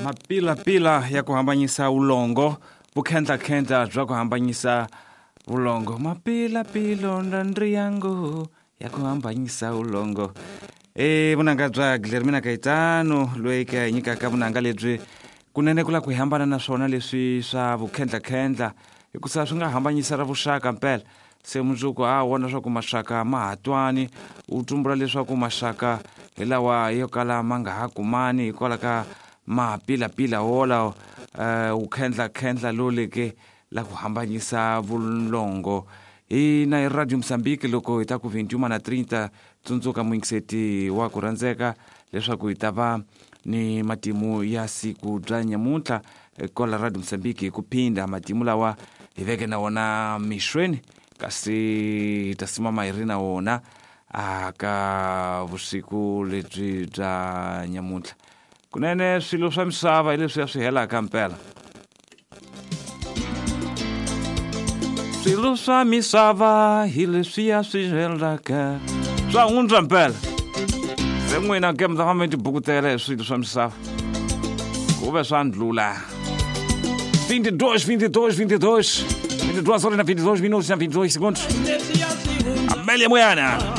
Mapilapila ya ku hambanyisa vulongo, vukhendlakhendla bya ku hambanyisa vulongo. Mapilapilo ndandriyangu ya ku hambanyisa vulongo. E vunanga bya Guilhermina Caetano loyi ka hi nyikaka vunanga lebyi kunene ku la ku hi hambana na swona leswi swa vukhendlakhendla hikusa swi nga hambanyisa ra vuxaka mpela. Se mundzuku a vona leswaku maxaka ma ha twani, u tumbula leswaku maxaka hi lawa yo kala ma nga ha kumani hikwalaho ka mapilapila wolawo, wu khendlakhendla lowu leke la ku hambanyisa vulongo. Hina hi Radio Mozambique loko hi ta ku 21 na 30, tsundzuka muyingiseti wa ku rhandzeka leswaku hi ta va ni matimu ya siku bya nyamuntlha kwala Radio Mozambique hi ku phinda matimu lawa hi veke na wona mixweni, kasi hi ta simama hi ri na wona a ka vusiku lebyi bya nyamuntlha. Kunene swilo swa misava hi leswiya swi helaka mpela. Swilo swa misava hi leswiya swi helaka, swa hundza mpela. Se n'wina ke mi ta famba mi tibukutela hi swilo swa misava ku ve swa ndlula. 22, 22, 22, 22 horas na 22 minutos na 22 segundos. Amélia Moiana.